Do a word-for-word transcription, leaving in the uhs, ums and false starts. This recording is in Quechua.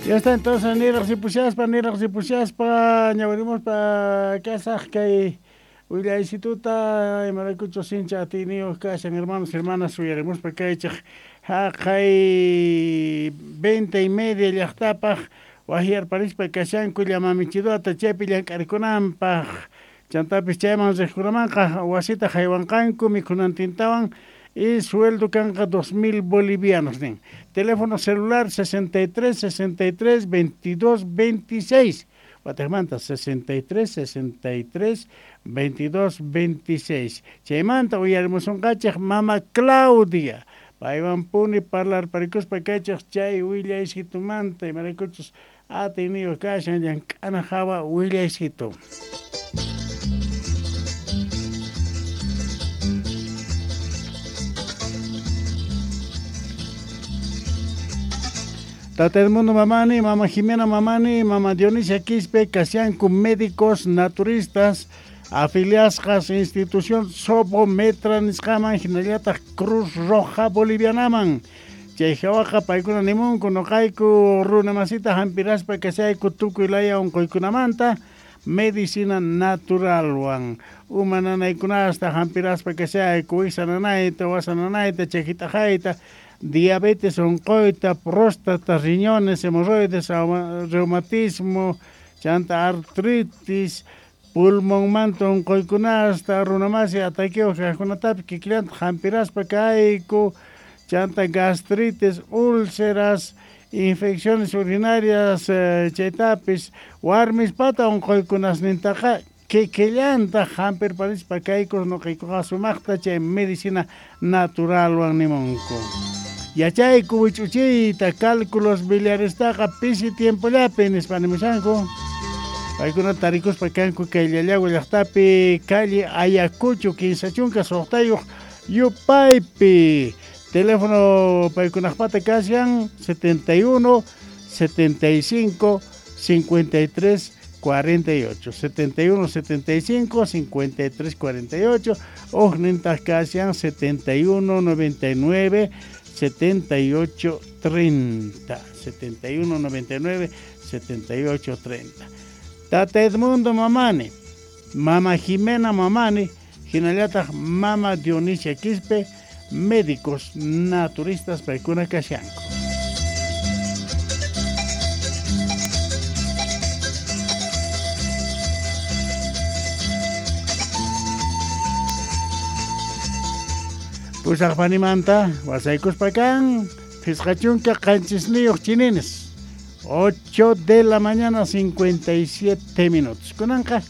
Ya está entonces niraq niraq ripushaspa ñawirimuspa kasaq kay willaysituta imaraykuchus sincha atiyniyuq kashan hermanos hermanas uyarimuspa kaychik haqay venta y media llaqtapaq wahyarparispa kashanku llamamichiduata chaypi llank'arikunanpaq chantapis chayman riqkunamanqa wasita haywanqanku mikhunantintawan y sueldo kanqa dos mil bolivianos nin. Teléfono celular sesenta y tres, sesenta y tres, veintidós, veintiséis. Watajmanta sesenta y tres, sesenta y tres, veintidós, veintiséis. Chaymanta uyarimusunqachik mama Claudia. Paywan puni parlarparikuspa kaychik chay willaysitumanta imaraykuchus atiyniyuq kashan llank'ana hawa willaysitu. Tata Edmundo Mamani, Mama Jimena Mamani, Mama Dionisia Quispe, kashanku médicos naturistas, afiliasqas institución Sobometra nisqaman hinallataq Cruz Roja Bolivianaman. Chay hawaqa paykuna nimunku nuqayku runa masita hampiraspa kashayku tukuy laya unquykunamanta medicina naturalwan. Uma nanaykunasta hampiraspa kashayku wiksa nanayta, wasa nanayta, chakitaqayta, diabetes unquyta, próstata, riñones, hemorroides, reumatismo, chanta artritis, pulmonmanta unquykunasta, runamasi ataqueo kaqkunatapis kikillanta hampiraspa kayku, chanta gastritis, úlceras, infecciones urinarias, eh, chaytapis, warmispata unquykunasnintaqa kikillanta hampirparispa kayku nuqaykuqa sumaqta chay medicina naturalwan nimunku. Yachayku wich'uchiyta cálculos biliarestaqa pisi tiempollapi nispa nimushanku. Paykuna tarikuspa kanku kay Llallagua llaqtapi calle Ayacucho kinsa chunka suqtayuq yupaypi. Teléfono paykunaqpata kashan setenta y uno, setenta y cinco, cincuenta y tres, cuarenta y ocho, setenta y uno, setenta y cinco, cincuenta y tres, cuarenta y ocho, ujnintaq kashan setenta y uno, noventa y nueve, setenta y ocho, treinta, setenta y uno, noventa y nueve, setenta y ocho, treinta. Tata Edmundo Mamani, Mama Jimena Mamani, hinallataq Mama Dionisia Quispe, médicos naturistas paykuna kashanku. Pusaqpanimanta wasaykuspa kan phisqa chunka qanchisniyuq chinines, ocho de la mañana cincuenta y siete minutos. Kunanqa